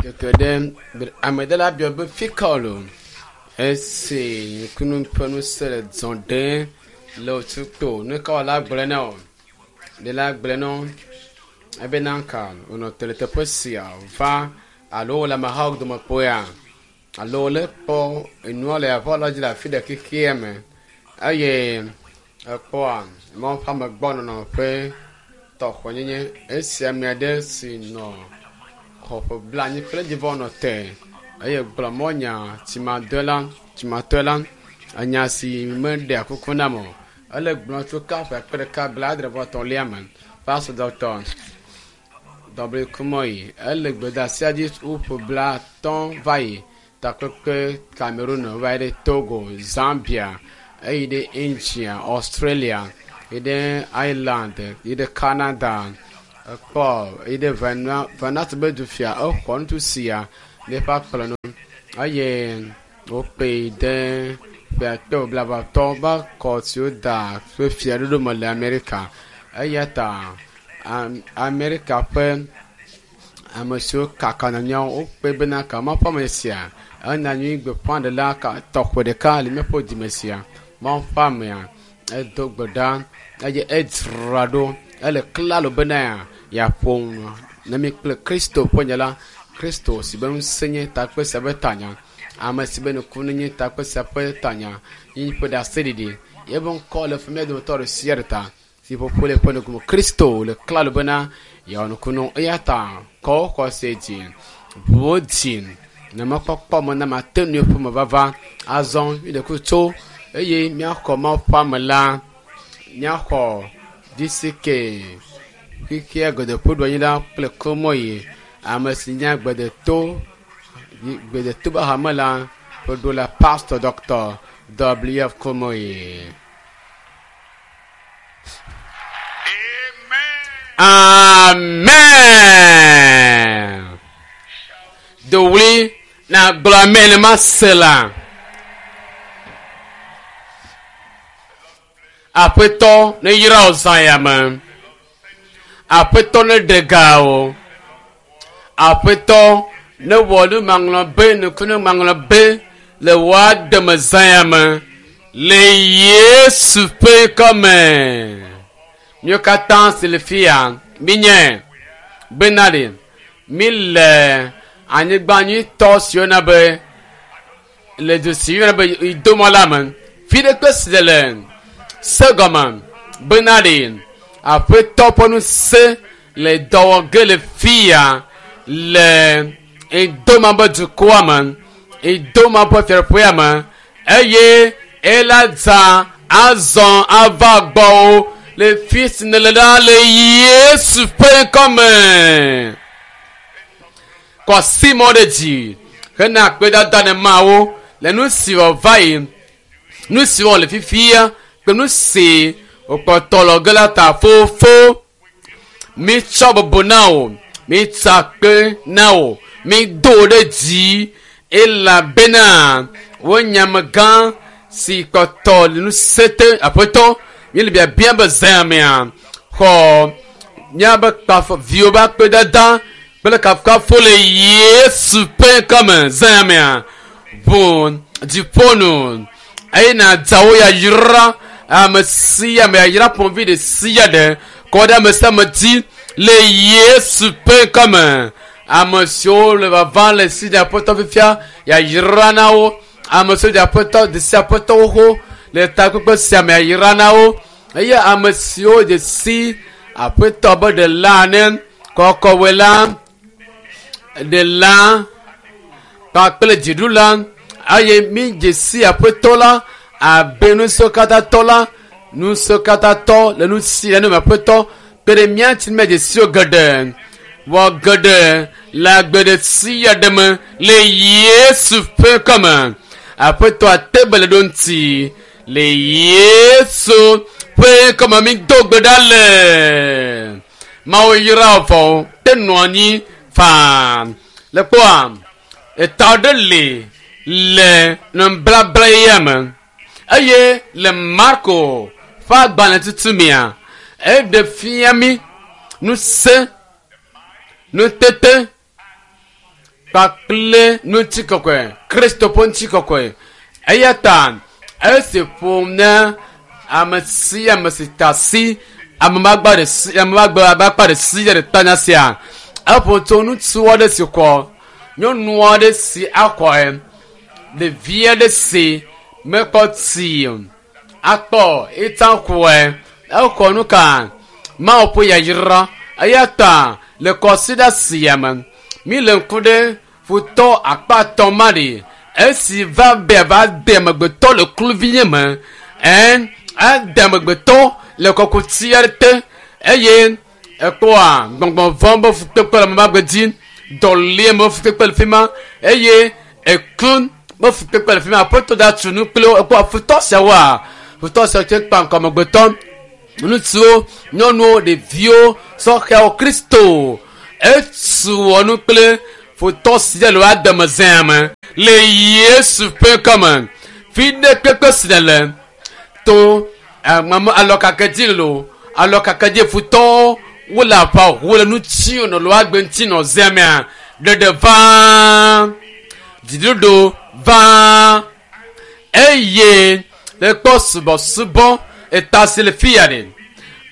Keke ɖe ame ɖe la biɔ be fika wòle o. Esi nukunu ƒe ŋusẽ le zɔ ɖem le wòtukpo nu ka wòle agblɔ na wò? Ɖe la gblɔ na wo ebena ka wònɔ te le teƒe sia va alo wòle amehawo dome kpɔea alo wòle kpɔ enua le aʋa la dzi le afi ɖe xexea me eye ekpɔa Mawu ƒe amegbɔnɔnɔ ƒe tɔxɔnyenye esi ame aɖe si nɔ xɔ ƒe blanyi kple dzivɔ nɔ te eye gblɔ mɔ nya tsimadɔe la tsimatɔe la enya si meɖea kuku nam o ele gblɔ tso ka ƒe akpe ɖeka blaadre vɔ etɔ̃lia me pastor dɔkta W Kumoyi ele gbedeasia dzi woƒe blatɔ̃ va yi takpekpe Cameroon va yi ɖe Togo, Zambia, eyi ɖe India, Australia, yi ɖe Ireland, yi ɖe Canada, ekpɔ yi ɖe Vanuatu be du fia exɔ ŋutsu sia le eƒe akplɔ nu eye wokpee de ƒe akpe blaeve va kɔ si woda ƒe fiaɖuɖu me le Amerika. Eya ta Amerika ƒe ame siwo kaka nyawo wokpe bena ka Mawu ƒe ame sia ena nyui gbeƒãɖela ka tɔxɛ ɖeka le míaƒe dime sia. Mawu ƒe amea edo gbe ɖa eye edzra ɖo ele klalo bena yeaƒo nu ne mi kple Kristo ƒe nya la. Kristo si be ŋusẽ nye takpe sia ƒe tanya. Ame si be nukunu nye takpe sia ƒe tanya yi ƒe ɖaseɖiɖi. Yeƒe ŋkɔ le fi mía dometɔ ɖe sia ɖe ta si ƒoƒo le eƒe nukume. Kristo le klalo bena yeawɔ nukunu eya ta kɔ wò xɔse dzi ʋuwo dzi ne mɔkpɔkpɔ me na mate ŋu ƒe me vava azɔ mi ɖe kuku tso eye míaxɔ Mawu ƒe ame la míaxɔ DCK xexea geɖe ƒe ɖoanyi la kple Kumoyi ame si nye gbedeto gbedeto be hame la ƒe ɖo la Pastor Dr. W.F. Kumoyi. Amen. Amen. Dowli na gblɔ amen ma se la. Aƒetɔ ne yra wò zã ya me. Aƒetɔ ne ɖe ga wò. Aƒetɔ ne wɔ nu maŋlɔ be nukunu maŋlɔ be le wò ademe zã ya me. Le Yesu ƒe ŋkɔme. Míwo katã si le fia mínye bena ɖe mi le anyigba nyuitɔ si woyɔna be le du si woyɔna be Idomɔ la me. Fi ɖe kpe si le se gɔme bena ɖe aƒetɔ ƒe ŋusẽ le dɔ wɔ ge le fia le Idoma be dukɔa me, Idoma ƒe fiaɖuƒea me eye ela dza azɔ ava gbɔwò le fi si nèle ɖa le Yesu ƒe ŋkɔme. Kɔ asi mɔ ɖe dzi hena akpedada ne Mawu le nu si wòva yi, nu si wɔ le fifia kple nu si wòkpɔtɔ lɔ ge la ta fofo. Mitsɔ bubu na wò, mitsa akpe na wò, mido wò ɖe dzi elabena wò nyamegã si kpɔtɔ le ŋusẽ te aƒetɔ míele biabia be zã mea xɔ míabe kpafɔ viwo be akpedada kple kafukafu le Yesu ƒe ŋkɔme zã mea ʋu dziƒo nu eye nàdza wo yayra ame sia ame yayra ƒomevi ɖe sia ɖe kɔ ɖe ame sia ame dzi le Yesu ƒe ŋkɔme. Ame siwo le vava le si dze aƒetɔ fifia yayra na wo. Ame siwo dze aƒetɔ de si aƒetɔ xoxo le takpekpe sia me yayra na wo. Eye ame siwo dze si aƒetɔ be ɖela ene kɔkɔwɔe la ɖela kpakple dziɖula eye mi dze si aƒetɔ la abe ŋusẽkatãtɔ la ŋusẽkatãtɔ le nu si le nu me aƒetɔ kpe ɖe mía ŋuti míadze si wo geɖe wɔ geɖe le agbe ɖe sia ɖe me le Yesu ƒe ŋkɔme. Aƒetɔ ate be le ɖo ŋuti le Yesu ƒe ŋkɔme mi do gbe ɖa le. Mawu yra vɔ te nɔ anyi faa. Le kpɔa eta ɖe li le nublabla ya me eye le Marko ƒe agbalẽ tutu mea eɖe fia mi ŋusẽ, nutete Kpakple ŋutikɔkɔe, Kristo ƒe ŋutikɔkɔe. Eya ta esi ƒom na ame sia ame si ta asi ame magba ɖe si ame magba abe akpa ɖe sia ɖe tanya sia. Eƒo tso ŋutsu aɖe si kɔ nyɔnu aɖe si akɔe ɖevi aɖe si mekpɔ tsi o akpɔ etsã kɔe exɔ nu ka Mawu ƒe yayra eya ta le kɔsiɖa sia me mi le ŋku ɖe futɔ akpa ma ɖi esi va be va de amegbetɔ le kluvinye me ɛn ade amegbetɔ le kɔkuti aɖe te eye ekpɔa gbɔgbɔ vɔ̃ be fukpekpe le ame magbe dzi dɔlie be fukpekpe le fi ma eye eku be fukpekpe le fi ma aƒetɔ da tu nu kple wo ekpɔ futɔ siawoa futɔ siawo tse kpa ŋkɔ amegbetɔ ŋutsuwo nyɔnuwo ɖeviwo sɔhɛwo kristo etu wɔ nu kple futɔ sia le woademe zea me le yesu ƒe ŋkɔme fi ɖe kpekpe si le le to ame alɔkake dzi lo alɔkake dzi futɔwo wole aʋa wole nu tsi nɔ le woagbe ŋuti nɔ zea mea ɖeɖe vaa dziɖuɖu vaa eye le kpɔ subɔsubɔ eta si le fi ya ɖe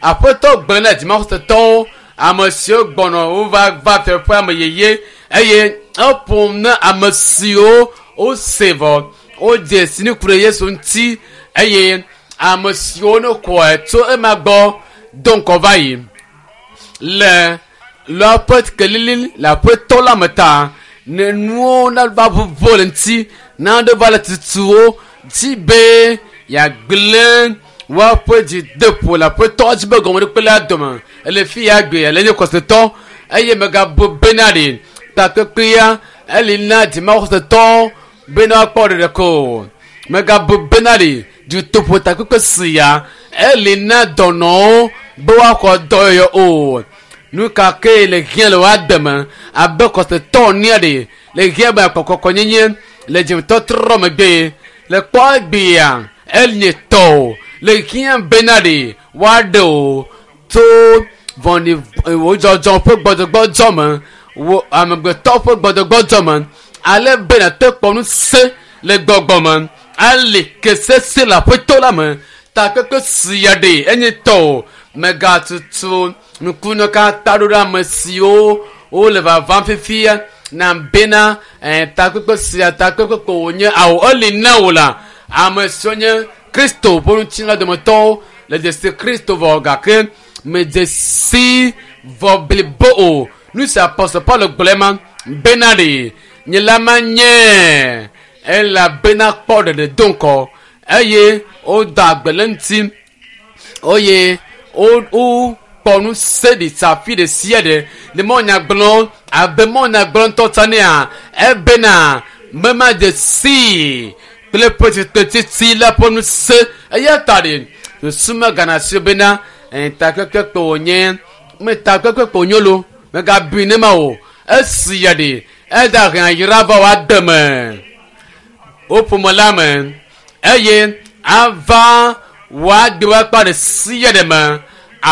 aƒetɔ gblẽ na dzimaxɔsetɔwo ame siwo gbɔnɔ wova va fiaƒe ame yeye eye eƒom na ame siwo wose vɔ wodze si nu ku ɖe yesu ŋuti eye ame siwo ne kɔe tso ema gbɔ do ŋkɔ va yi le le kelili le aƒetɔ la me ta ne nuwo nava ʋuʋu le ŋuti naɖe va le tutuwo dzi be yeagblẽ woaƒe dzideƒo le aƒetɔ dzi be gɔmeɖokpe la dome ele fi ya gbe ele nye kɔsetɔ eye megabu bena ɖe takpekpea eli na dzimaxɔsetɔ bena woakpɔ ɖeɖe ko megabu bena ɖe dutoƒo takpekpe sia eli na dɔnɔwo be woaxɔ dɔyɔyɔ o nu ka ke le hiã le woade me abe kɔsetɔ nia ɖe le hiã be akpɔkɔkɔnyenye le dzimetɔtrɔ megbe le kpɔ egbea enye tɔ le hiã bena ɖe woaɖe o tso vɔ̃ɖi wodzɔdzɔ ƒe gbɔdzɔgbɔdzɔ me wo amegbetɔ ƒe gbɔdzɔgbɔdzɔ me ale be nàte kpɔ ŋusẽ le gbɔgbɔ me ale ke sese le aƒetɔ la me takpekpe sia ɖe enye tɔ o megatutu nukunu katã ɖo ɖe ame siwo wole vavam fifia na bena ɛɛ takpekpe sia takpekpe ko wònye awo eli na wò la ame siwo nye kristo ƒe ŋutilã dometɔwo le dzesi kristo vɔ gake medze si vɔ blibo o nu si apɔstɔ paulo gblɔe ma bena ɖe nye la manye elabena kpɔ ɖeɖe do ŋkɔ eye woda agbe le ŋuti eye wokpɔ ŋusẽ ɖi tsa fi ɖe sia ɖe le mɔnyagblɔ abe mɔnyagblɔ ŋutɔ tsa nea ebena memadze sii kple ƒe tsitretsitsi la ƒe ŋusẽ eya ta ɖe susu megana si bena takpekpe kpe wònye me takpekpe kpe wònye lo megabui ne ma o esi ya ɖe eda hɛn ayra va wòade me wo ƒome la me eye ava wòagbe woakpa ɖe sia ɖe me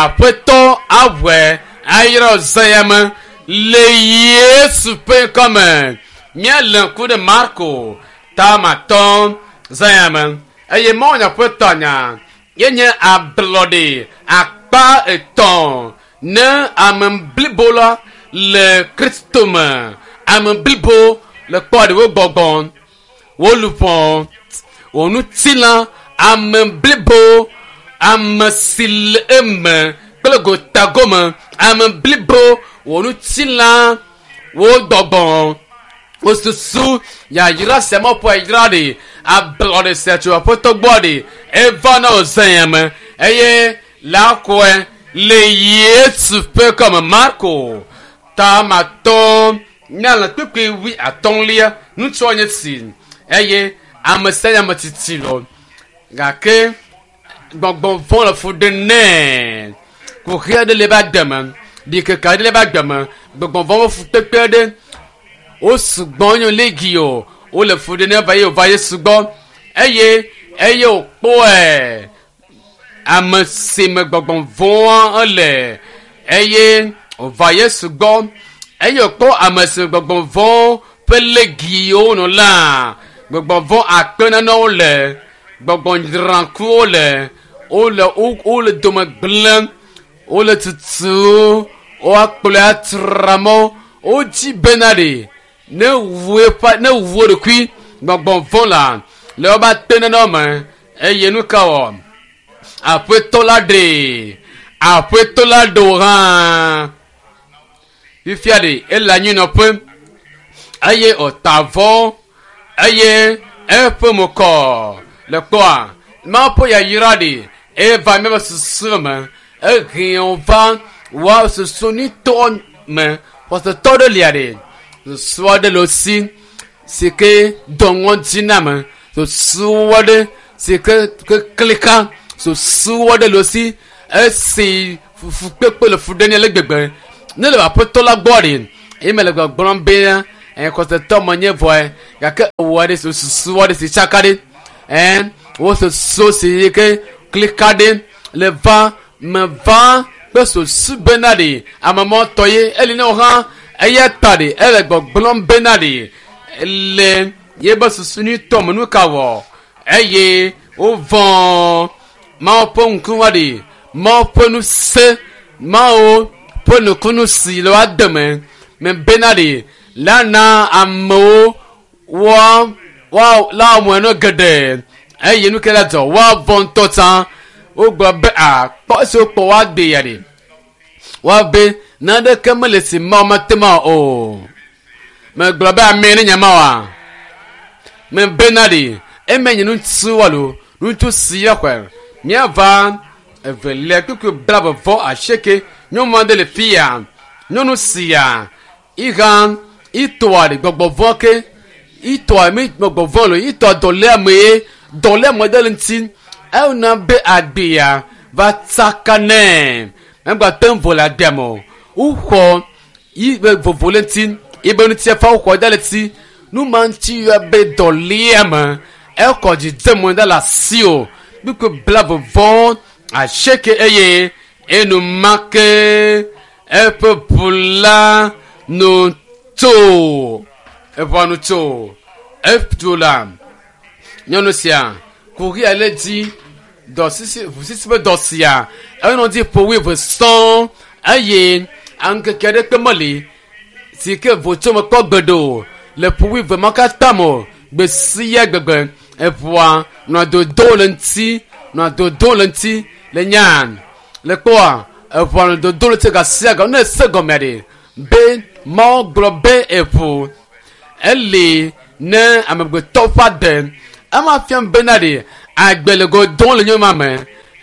aƒetɔ aʋɔe ayra zã ya me le yesu ƒe ŋkɔme míalé ŋku ɖe marko tamatɔ zã ya me eye mawunya ƒe tɔnya yenye ablɔɖe akpa etɔ̃ ne ame blibo la le kristo me ame blibo le kpɔ ɖewo gbɔgbɔ wo luʋɔ wò ŋutilã ame blibo ame si le eme kple gotagome ame blibo wò ŋutilã wò gbɔgbɔ wò susu yayra sia mɔƒo yayra ɖe ablɔɖe sia tso aƒetɔ gbɔ ɖe eva na wò zã ya me eye la kɔe le yesu ƒe kɔme marko tamatɔ nyala kpekpe wi atɔ̃lia ŋutsua nye si eye ame sia nye ame tsitsi lɔ gake gbɔgbɔ vɔ̃ le fu ɖem nɛ kuxi aɖe le ebe agbe me ɖikeke aɖe le ebe agbe me gbɔgbɔ vɔ̃ ƒe fukpekpe aɖe wo sugbɔ nye legi o wole fu ɖem nɛ va ye wòva yesu gbɔ eye eye wòkpɔe ame si me gbɔgbɔ vɔ̃a ele eye wòva yesu gbɔ eye wòkpɔ ame si me gbɔgbɔ vɔ̃ ƒe legiwo nɔ la gbɔgbɔ vɔ akpe nanewo le gbɔgbɔ dzrakuwo le wole wole dome gblẽm wole tutu woakplɔe atramɔ wodzi bena ɖe ne wu eƒe ne wu wo ɖokui gbɔgbɔ vɔ la le wobe ate nanewo me eye nu ka wɔ aƒetɔ la ɖe aƒetɔ la ɖe wò hã fifia ɖe ele anyinɔƒe eye wòta avɔ eye eƒe mo kɔ le kpɔa mawu ƒe yayra ɖe eva míaƒe susu me ehe va woa susu nitɔ me xɔsetɔ ɖe lia ɖe susu aɖe le si si ke dɔ ŋɔdzi na me susu aɖe si ke ke klika susu aɖe le si esi fukpekpe le fu ɖe ne le gbegbe ne le aƒetɔ la gbɔ ɖe eye me le gbɔgblɔm be ɛ xɔsetɔ me nye vɔe gake ewɔ aɖe susu aɖe si tsaka ɖe ɛ wo susu si ke klika ɖe le va me va kple susu bena ɖe amemɔtɔ ye eli ne wo hã eya ta ɖe ele gbɔgblɔm bena ɖe le yebe susu nyuitɔ me nu ka wɔ eye wovɔ̃ mawu ƒe ŋkume ɖe mawu ƒe ŋusẽ mawu ƒe nukunu si le woa deme me bena ɖe la na amewo woa woa la wɔe nu geɖe eye nu ke la dzɔ woavɔ̃ ŋutɔ tsã wogblɔ be a kpɔ esi wokpɔ woade ya ɖe woabe naneke mele si mawu mate ma o megblɔ be ame ne nya ma wa me bena ɖe eme nye ŋutsu alo ŋutsu si ya xɔe míava evelia kpukpui blaeve vɔ asieke nyɔnu aɖe le fi ya nyɔnu sia iha itoa ɖe gbɔgbɔ vɔ ke itoa mi gbɔgbɔ vɔ lo itoa dɔléame ye dɔléame ɖe le ŋuti ewɔna be agbea va tsaka nɛ megba te ŋu vo le agbea me o woxɔ yi be vovo le ŋuti yibe ŋuti fa woxɔ da le ŋuti nu ma ŋuti yɔ be dɔléame ekɔ dzidzeme da le asi o kpukpui blaeve vɔ asieke eye enumake eƒe ʋu la nu tso eʋua nu tso etu la nyɔnu sia kuxi ale dzi dɔ sisi ʋu sisi ƒe dɔ sia enɔ dzi ƒo wuieve sɔŋ eye aŋkeke aɖeke meli si ke votso mekpɔ gbeɖe o le ƒo wuieve ma katã me o gbe sia gbegbe eʋua nɔa dodo le ŋuti nɔa dodo le ŋuti le nya le kpɔa eʋua nɔ dodo le ŋuti gasia ga ne ese gɔmea ɖe be mawu gblɔ be eʋu eli ne amegbetɔ ƒe ade ema fiam bena ɖe agbe le go dom le nyɔnua me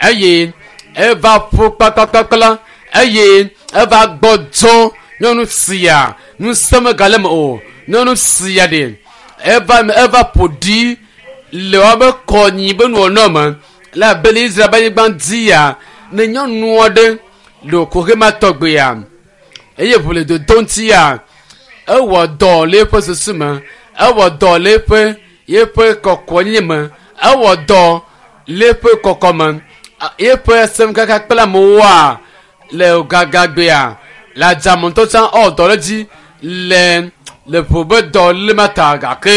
eye eva ƒu kpakpakpakpla eye eva gbɔdzɔ nyɔnu sia ŋusẽ megale me o nyɔnu sia ɖe eva eva ƒo ɖi le woabe kɔnyi be nuwɔnɔ me le abe le Israel be anyigba dzia ne nyɔnu aɖe le koxe ma tɔgbea eye ʋu le dodo ŋutia ewɔ dɔ le eƒe susu me ewɔ dɔ le eƒe yeƒe kɔkɔnyenye me ewɔ dɔ le eƒe kɔkɔ me yeƒe semkaka kple amewoa le gagagbea le adzame ŋutɔ tsã ewɔ dɔ ɖe edzi le le ʋu be dɔ le ma ta gake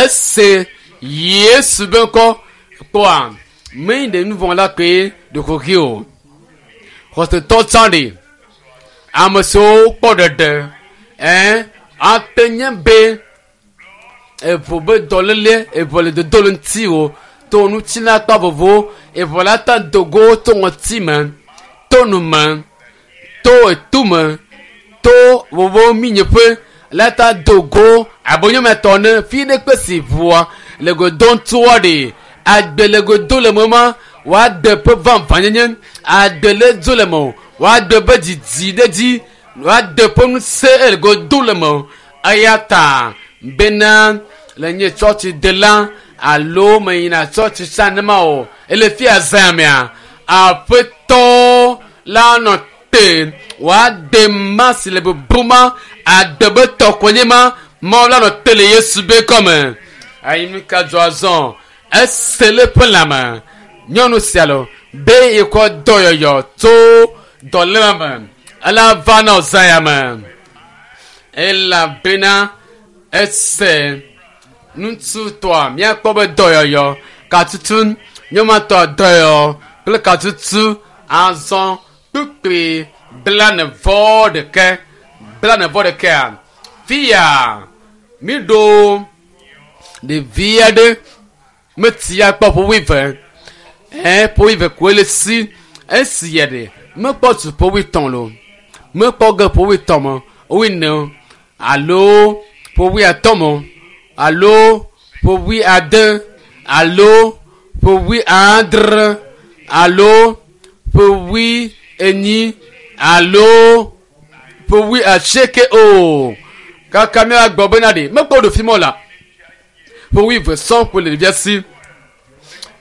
ese Yesu be ŋkɔ kpɔa menye ɖe nu vɔ̃ la koe ɖeko xi o xɔsetɔ tsã ɖe ame siwo kpɔ ɖeɖe ɛ ate nye be eʋu be dɔléle eʋu le dodo le ŋuti o to ŋuti la kpa vovo eʋu la ta dogo to ŋɔti me to nu me to etu me to vovo minyeƒe la ta dogo abe nyɔmetɔ ne fi ɖe kpe si ʋua le godo ŋutua ɖe agbe le godo le me ma woade ƒe vavãnyenye agbe le dzo le me o woade ƒe didi ɖe dzi woade ƒe ŋusẽ le godo le me o eya ta bena le nye tsɔtsi de la alo meyina tsɔtsi tsã nema o ele fia zã mea aƒetɔ la nɔ te woade ma si le bubu ma ade be tɔkɔnye ma mawu la nɔ te le Yesu be kɔme ayi nu ka dzɔ azɔ ese le ƒe lãme nyɔnu sia lo be yekɔ dɔyɔyɔ tso dɔléle me ela va na zã ya me elabena Ese ŋutsutɔa míakpɔ be dɔyɔyɔ katutu nyɔmatɔ dɔyɔyɔ kple katutu azɔ kpukpui 41 41kea fia míɖo ɖevi aɖe metia kpɔ ƒe wuieve ɛ ƒe wuieve koe le si esi ya ɖe mekpɔ tu ƒe wuietɔ̃ lo mekpɔ ge ƒe wuietɔ̃ me wuiene alo ƒe wuiatɔ̃ me alo ƒe wuiade alo ƒe wuiadre alo ƒe wuienyi alo ƒe wuiasieke o kaka míagbɔ bena ɖe mekpɔ ɖo fi mɔ la ƒe wuieve sɔŋ koe le ɖevia si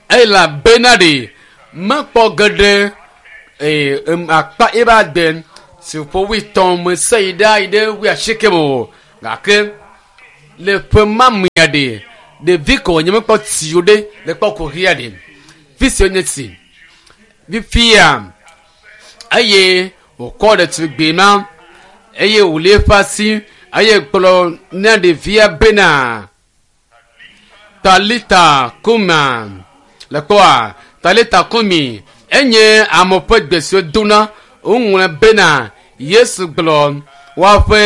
elabena ɖe mekpɔ geɖe ee akpa ebe agbe si ƒe wuietɔ̃ me se yi ɖa yi ɖe wuiasieke me o gake le ƒe ma mea ɖe ɖevi ko wònye mekpɔ tsi o ɖe le kpɔ kuxia ɖe fi si wonye tsi fifia eye wòkɔ ɖetugbui ma eye wòli eƒe asi eye gblɔ na ɖevia bena talita kuma le kpɔa talita kumi enye ame ƒe gbe si wodona woŋlɔ bena yesu gblɔ woaƒe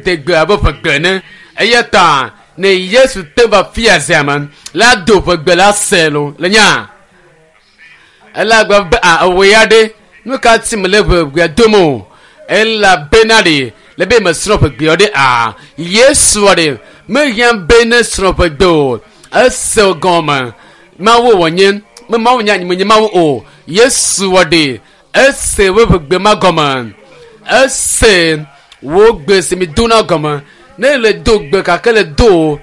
degbe abe ƒegbe ene eya ta ne yesu te va fia zia me la do ƒegbe la se lo le nya elagbe be a ewɔ ya ɖe nu ka ti me le ƒegbea dom o elabena ɖe le be mesrɔ̃ ƒegbea ɖe a yesu ɖe mehiã be ne srɔ̃ ƒegbe o ese gɔme mawu wònye me mawu nye menye mawu o yesu ɖe ese wo ƒegbe ma gɔme ese wo gbe si mi dona gɔme ne le do gbe gake le do o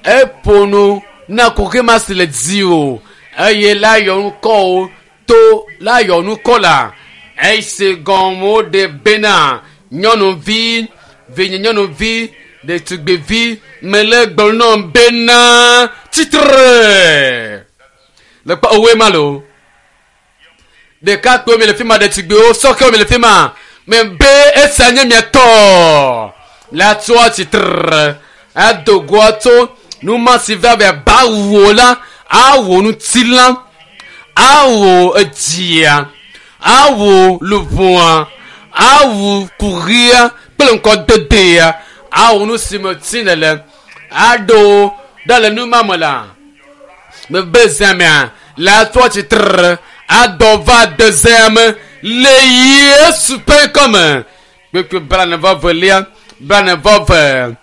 eƒo nu na kuxi ma si le dzi o eye la yɔ ŋkɔ o to la yɔ ŋkɔ la ese gɔme woɖe bena nyɔnuvi vinye nyɔnuvi ɖetugbivi mele gblɔ nɔ bena tsitre le kpɔ owoe ma lo ɖekakpuiwo mi le fi ma ɖetugbiwo sɔkewo mi le fi ma me be esia nye mia tɔ la tsoa tsitre ado goa tso nu ma si va be ba wo la awɔ ŋutilã awɔ edzia awɔ luʋɔa awu kuxia kple ŋkɔdedea awɔ nu si me tsi le le aɖo ɖe le nu ma me la mebe zãmea la tsoa tsitre adɔ va de zãme le yesu ƒe ŋkɔme kpekpe 42 42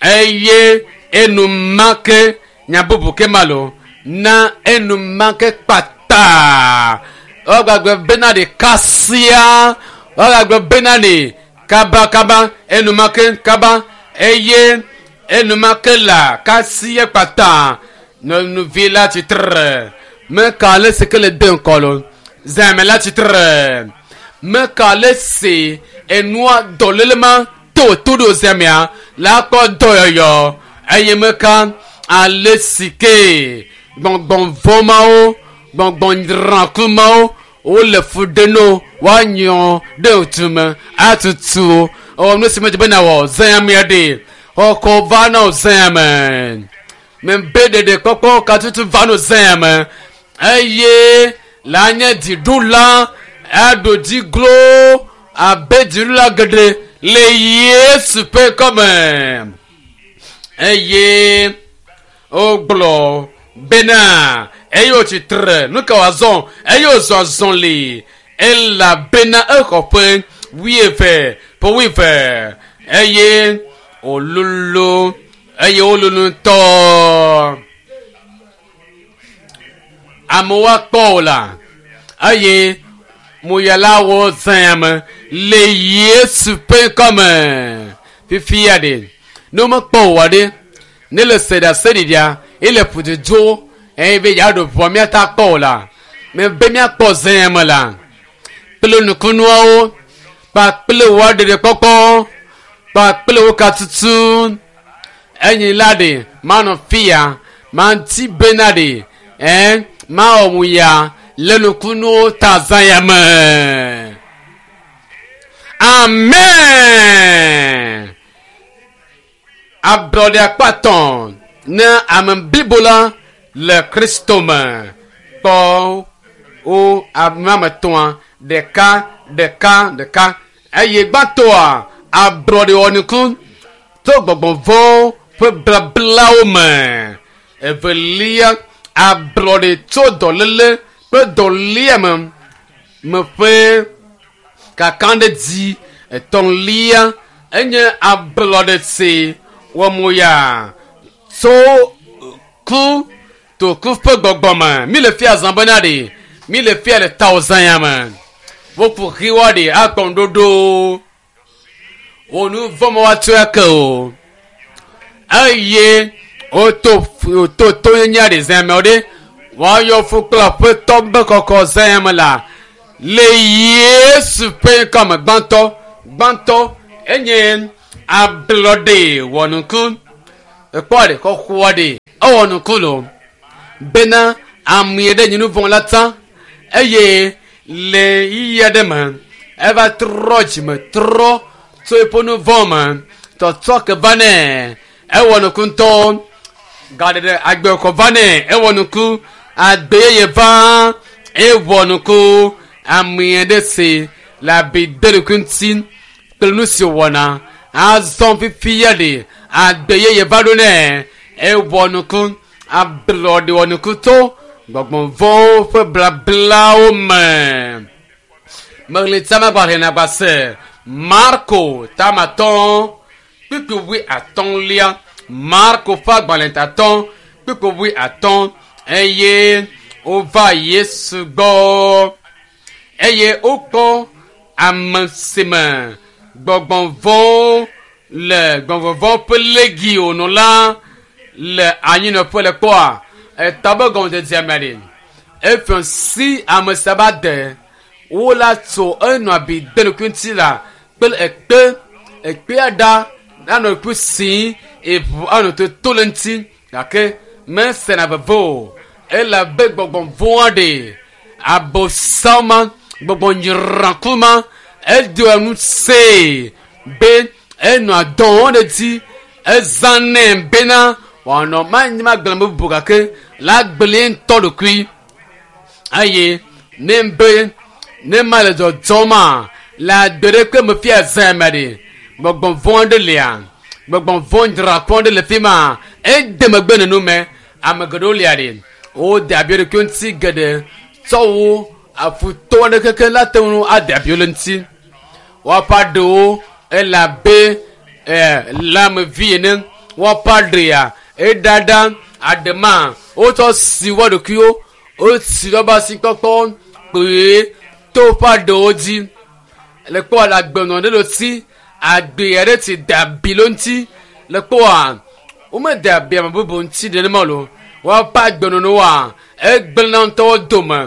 eye enumake nya bubu ke ma lo na enumake kpata wogbagbe bena ɖe kasia wogbagbe bena ɖe kabakaba enumake kaba eye enumake la kasia kpata nyɔnuvi la tsitre meka ale si ke le de ŋkɔ lo zãme la tsitre meka ale si enua dɔléle ma to to ɖo zãmea la kpɔ dɔyɔyɔ eye meka ale si ke gbɔngbɔnvɔ mawo gbɔngbɔnyrãku mawo wole fu ɖe no woanyɔ ɖe tume atutu ewɔ nu si medze be nawɔ zãmea ɖe xɔkɔ va na wo zãme mebe ɖeɖe kpɔkpɔ katutu va no zãme eye la nye dziɖula aɖo dzi glo abe dziɖula geɖe le yesu ƒe kɔme eye wogblɔ bena eye wòtsitre nu ka wòazɔ eye wòzɔ azɔli elabena exɔ ƒe wuieve ƒe wuieve eye wòlolo eye wololo ŋutɔ amewo akpɔ o la eye moyalawo zãme le yesu ƒe ŋkɔme fifia ɖe ne womekpɔ o wa ɖe ne le se ɖe ase ɖiɖia ele ƒududzo eye be yeaɖo ʋua míata kpɔ o la mebe míakpɔ zãme la kple nukunuawo kpakple wo aɖeɖekpɔkpɔ kpakple wo katutu enyi la ɖe manɔ fia manti bena ɖe ɛn mawɔ mu ya le nukunuwo ta zã ya me amen. Ablɔɖe akpa tɔ̃ ne ame blibo la le Kristo me. Kpɔ wo ame ame etɔ̃a ɖeka ɖeka ɖeka eye gbãtɔa ablɔɖe wɔnuku to gbɔgbɔ vɔ̃wo ƒe blablawo me. Evelia ablɔɖe tso dɔléle kple dɔléame me ƒe kakaɖedzi. Etɔ̃lia enye ablɔɖe si wɔmoya tso ku to ku ƒe gbɔgbɔ me. Mi le fia zã bena ɖe mi le fia le tawo zã ya me. Woƒo xiwa ɖe akpɔ ŋuɖoɖo. Wo nu vɔ̃ me woatsɔe ake o. Eye woto woto tonyenye ɖe zã me ɖe woayɔ fu kple aƒetɔ be kɔkɔ zã ya me la le Yesu ƒe ŋkɔ me gbãtɔ gbãtɔ enye ablɔɖe wɔnuku. Ekpɔ ɖe xɔxɔa ɖe ewɔ nuku lo bena ame ɖe nye nu vɔ̃ la tsã eye le yiyi aɖe me eva trɔ dzime trɔ tso eƒe nu vɔ̃ me tɔtrɔ ke va nɛ ewɔ nuku ŋutɔ gaɖeɖe agbexɔ va nɛ ewɔ nuku agbe yeye va ewɔ nuku ame ɖe si le abi de ɖokui ŋuti kple nu si wɔna azɔ fifia ɖe agbe yeye va ɖo nɛ ewɔ nuku ablɔɖe wɔ nuku to gbɔgbɔ vɔ̃wo ƒe blablawo me. Meɣli tsamagbalẽ nagbase Marko tamatɔ kpukpui wui atɔ̃lia Marko ƒe agbalẽ tatɔ kpukpui wui atɔ̃ eye wova Yesu gbɔ eye wokpɔ ame si me gbɔgbɔ vɔ̃wo le gbɔgbɔ vɔ̃ ƒe legi wònɔ la le anyinɔƒe le kpɔa etɔ be gɔmedzedzea me ɖe efiɔ si ame sia ba de wo la tso enɔ abi de ɖokui ŋuti la kple ekpe ekpea ɖa anɔ ɖokui si eʋu anɔ toto le ŋuti gake mesena veve o elabe gbɔgbɔ vɔ̃a ɖe abosam ma gbɔgbɔ nyraku ma edoa nu see be enɔa dɔ wɔm ɖe dzi ezãnɛ bena wòanɔ manyi magblẽ bubu gake la gblẽ ŋutɔ ɖokui eye ne be ne ma le dzɔdzɔma le agbe ɖe ke me fia zã me ɖe gbɔgbɔ vɔ̃ ɖe lia gbɔgbɔ vɔ̃ dzrakɔ ɖe le fi ma ede megbe nenu me ame geɖewo lia ɖe wode abi ɖokui ŋuti geɖe tsɔ wo afutɔ aɖe keke la te ŋu ade abi le ŋuti woaƒe aɖewo ele abe ɛ lãmevi ene woaƒe aɖea eɖaɖa aɖema wotsɔ si wo ɖokuiwo wosi woƒe asikpɔkpɔ kpuie to woƒe aɖewo dzi le kpɔ le agbenɔ ɖe le si agbe aɖe ti de abi le ŋuti le kpɔa womede abi ame bubu ŋuti nenema o woaƒe agbenɔnɔwoa egblẽna ŋutɔwo dome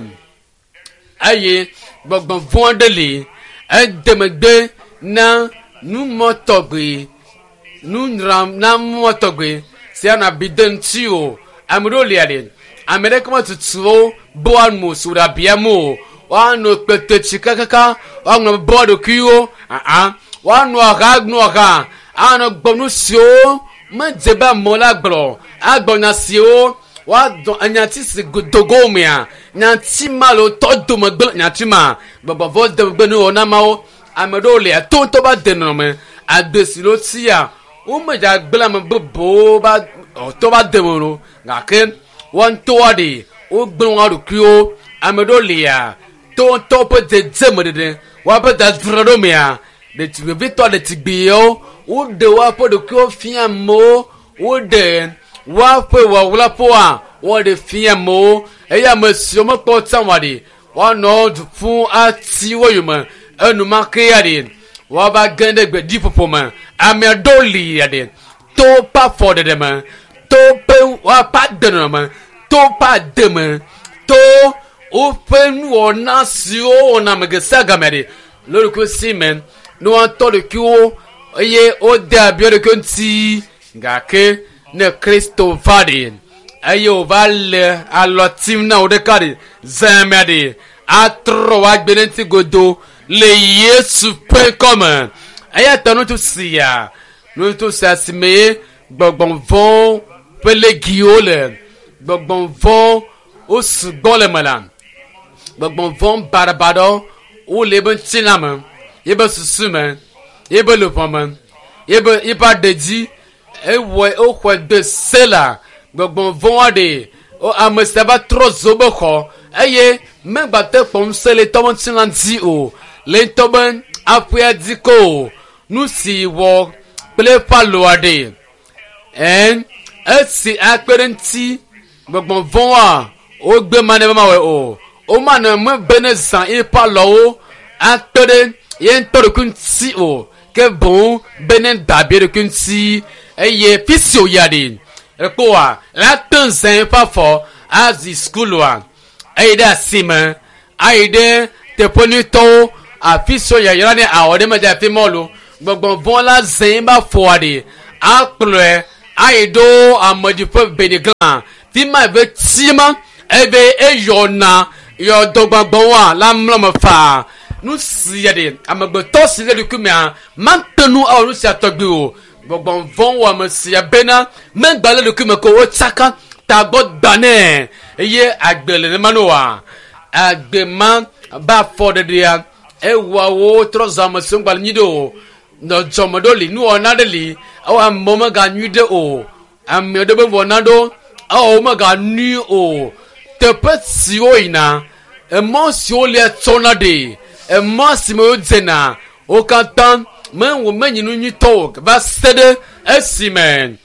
eye gbɔgbɔ vɔ̃ aɖe li ede megbe na numɔ tɔgbe nunyranamɔ tɔgbe si anɔ abi de ŋuti o ame ɖewo lia ɖe ame ɖeke metutu wo be woano si wòɖe abia me o woano kpetetsi kakaka woaŋlɔ be woa ɖokuiwo aa woano aha nu aha anɔ gbɔ nu siwo medze be amewo la gblɔ agblɔ nya siwo woadɔ enyati si dogo mea nyati ma le wotɔ dome gblẽ nyati ma gbɔgbɔvɔ de megbe ne wɔna mawo ame ɖewo lia to ŋutɔ ba de nɔnɔme agbe si le wotia womedza gblẽ ame bubuwo ba tɔ ba de me o gake woa ŋutɔwoa ɖe wogblẽ woa ɖokuiwo ame ɖewo lia to ŋutɔ ƒe dzedzeme ɖeɖe woaƒe dzadzra ɖo mea ɖetugbivitɔ ɖetugbiwo woɖe woaƒe ɖokuiwo fia amewo woɖe woaƒe wɔwlaƒoa woɖe fia amewo eye ame siwo mekpɔ tsã wa ɖe woanɔ du ƒum ati wo yome enumake ya ɖe woava ge ɖe gbeɖiƒoƒo me ame aɖewo li ya ɖe to ƒe afɔ ɖeɖe me to ƒe woaƒe agbenɔnɔ me to ƒe ade me to woƒe nuwɔna siwo wɔna ame ge sia game ɖe le ɖokui si me ne woatɔ ɖokuiwo eye wode abi ɖokui ŋuti gake ne Kristo va ɖe eye wòva le alɔ tim na wo ɖeka ɖe zãmea ɖe atrɔ woagbe ɖe ŋuti godo le Yesu ƒe ŋkɔme eya ta ŋutsu sia ŋutsu sia si me ye Gbɔgbɔvɔ̃wo ƒe legiwo le gbɔgbɔvɔ̃ wo sugbɔ le me la. Gbɔgbɔvɔ̃ baɖabaɖawo wole ebe ŋutilã me, ebe susu me, ebe luʋɔ me, ebe eƒe aɖe dzi. Ewɔe woxɔe de se la gbɔgbɔvɔ̃a ɖe wo ame sia va trɔ zo be xɔ eye megbate kpɔ ŋusẽ le ŋutɔ be ŋutilã dzi o le ŋutɔ be aƒea dzi ko o. Nu si wɔ kple eƒe alɔa ɖe ɛn esi akpe ɖe ŋuti gbɔgbɔvɔ̃a wogbe ma ne be mawɔe o. Womanɔ me be ne zã eƒe alɔwo akpe ɖe ye ŋutɔ ɖokui ŋuti o ke boŋ be ne da abi ɖokui ŋuti eye fi si wòyia ɖi ekpɔa la te zã eƒe afɔ azi sukulua ayi ɖe asime ayi ɖe teƒe nyuitɔwo afi si yayra ne awɔ ɖe medze afi ma o gbɔgbɔvɔ̃ la zã eƒe afɔa ɖi akplɔe ayi ɖo amedziƒe benigla fi ma eve tima ebe eyɔna yɔdɔgbɔgbɔwoa la mlɔ me faa nu sia ɖe amegbetɔ si le ɖokui mea mate nu awɔ nu sia tɔgbi o gbɔgbɔvɔ̃ wɔ ame sia bena megba le ɖokui me ko wotsaka tagbɔ gba nɛ eye agbe le nema no wa agbe ma ba afɔ ɖeɖea ewɔa wo trɔ zɔ ame siwo ŋgba le nyui ɖe o nɔdzɔme ɖewo li nuwɔna ɖe li ewɔ amewo meganyui ɖe o ame ɖe be wɔna ɖo ewɔ wo meganyui o teƒe siwo yina emɔ siwo lia tsɔna ɖe emɔ si me wodzena wo katã mewɔ menyi nu nyuitɔ o va se ɖe esime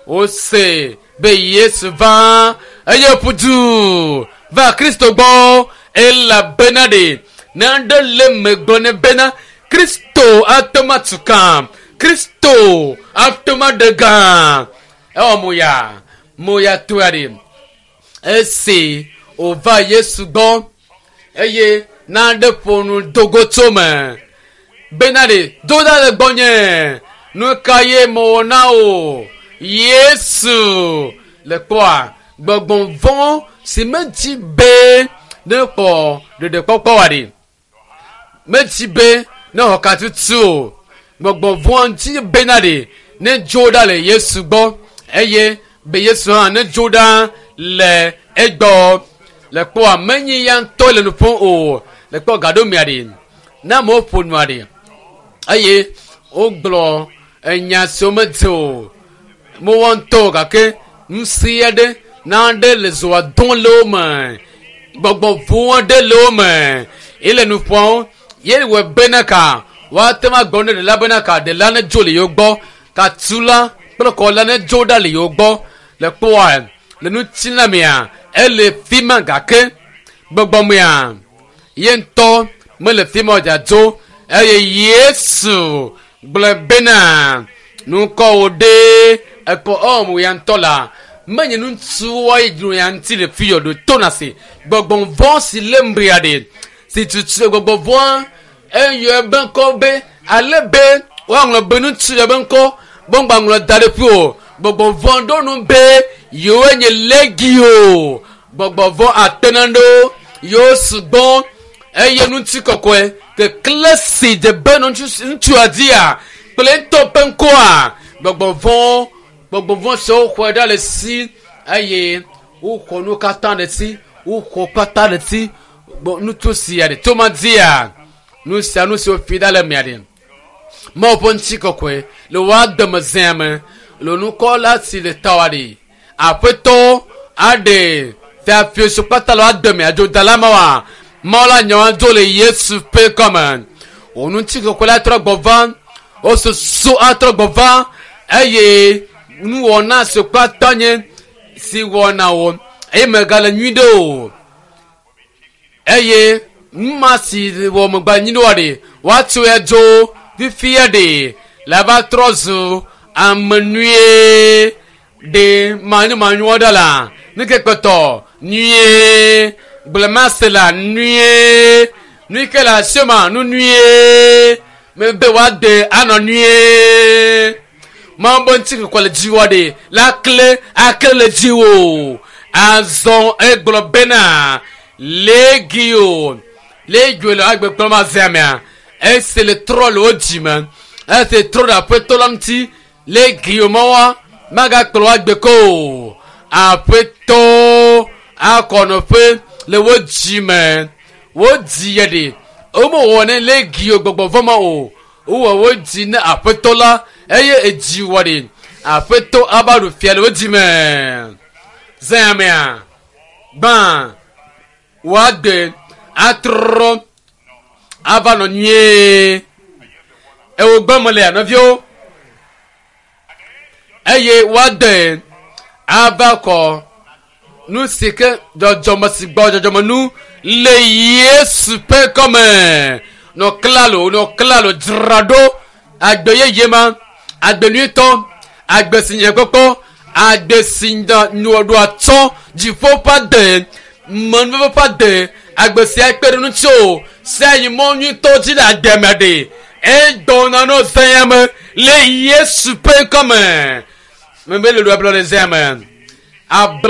wose be Yesu va eye ƒu du va Kristo gbɔ elabena ɖe naɖe le megblɔ ne bena Kristo ate ŋu atu ka Kristo ate ŋu aɖe gã ewɔ moya moya toa ɖe esi wòva Yesu gbɔ eye naɖe ƒo nu dogo tso me bena ɖe do ɖa le gbɔnye nu ka ye mewɔ na o Yesu le kpɔa gbɔgbɔvɔ̃ si medzi be ne kpɔ ɖeɖekpɔkpɔ wa ɖe medzi be ne xɔ katutu o gbɔgbɔvɔ̃ dzi bena ɖe ne dzo ɖa le Yesu gbɔ eye be Yesu hã ne dzo ɖa le egbɔ le kpɔa menyi ya ŋutɔ le nu ƒom o le kpɔ gaɖomea ɖe ne amewo ƒo nua ɖe eye wogblɔ enya siwo medze o mewɔ ŋutɔ o gake ŋusẽ aɖe naɖe le zɔa dɔm le wo me gbɔgbɔvɔ̃ aɖe le wo me ye le nu ƒom ye wɔ bena ka woate ŋu agblɔ ne ɖela bena ka ɖela ne dzo le yewo gbɔ katula kple kɔla ne dzo ɖa le yewo gbɔ le kpɔa le ŋutilã mea ele fi ma gake gbɔgbɔmea ye ŋutɔ mele fi ma o dzadzo eye Yesu gblɔ bena nukɔwo ɖe ekɔ ɔmu ya ŋutɔ la menye ŋutsuwoa yi dzro ya ŋuti le fi yɔ ɖo to na se gbɔgbɔvɔ̃ si le mbria ɖe si tutu gbɔgbɔvɔ̃a eyɔ ebe ŋkɔ be ale be woaŋlɔ be ŋutsu ya be ŋkɔ be ŋgba ŋlɔ da ɖe ƒi o gbɔgbɔvɔ̃ ɖo nu be yewoe nye legio gbɔgbɔvɔ̃ atena ɖewo yewo sugbɔ eye ŋuti kɔkɔe kekle si dze be ŋutsua dzia kple ŋutɔ ƒe ŋkɔa gbɔgbɔvɔ̃ gbɔgbɔvɔ̃ siwo xɔe ɖa le si eye woxɔ nu katã le si woxɔ katã le si ŋutsu sia ɖe toma dzia nu sia nu si wofi ɖa le mea ɖe Mawu ƒe ŋuti kɔkɔe le woa dome zea me le nukɔ la si le tawa ɖe aƒetɔ aɖe fiafiesu kpata le woa dome adzodala ma wa Mawu la nya wa dzo le Yesu ƒe kɔme wò ŋuti kɔkɔe la trɔ gbɔ va wo susu atrɔ gbɔ va eye nuwɔna si kpata nye si wɔna wo eye megale nyui ɖe o eye nu ma si wɔ megba nyui ɖe oa ɖe woatsoe dzo fifia ɖe la va trɔ zu ame nyuie ɖe manyomanyoa ɖe la nu ke kpɔtɔ nyuie gblẽmase la nyuie nu yi ke le asi ma nu nyuie mebe woade anɔ nyuie Mawu be ŋuti kɔkɔe le dziwɔ ɖe la kle akle le dziwò azɔ egblɔ bena legio legio le agbekplɔ ma zea mea esi le trɔ le wo dzime esi trɔ ɖe aƒetɔ la ŋuti legio mawoa Magakplɔ agbe ko o. Aƒetɔ akɔnɔƒe le wo dzi me. Wodzi yɛ ɖe. Womewɔ ne legio gbɔgbɔ vɔ ma o. Wowɔ wo dzi ne aƒetɔ la eye edzi wɔ ɖe. Aƒetɔ ava ɖu fia le wo dzi me. Zãmea gbã woagbe atrɔ ava nɔ nyuie. Ewo gbɔ me le nɔviwo eye woade ava kɔ nu si ke dzɔdzɔme si gbɔ dzɔdzɔme nu le Yesu ƒe kɔme. Nɔ klalo nɔ klalo dzra ɖo agbe yeye ma agbe nyuitɔ agbe si nye kpɔkpɔ agbe si ɖo atsɔ dziƒo ƒe ade menuveve ƒe ade agbe sia kpe ɖe ŋuti o sia yi mɔ nyuitɔ dzi le agbe me ɖe egbɔna nɔ zãya me le Yesu ƒe ŋkɔme. Mebe le ɖo ablɔ le zãya me. Ablɔ.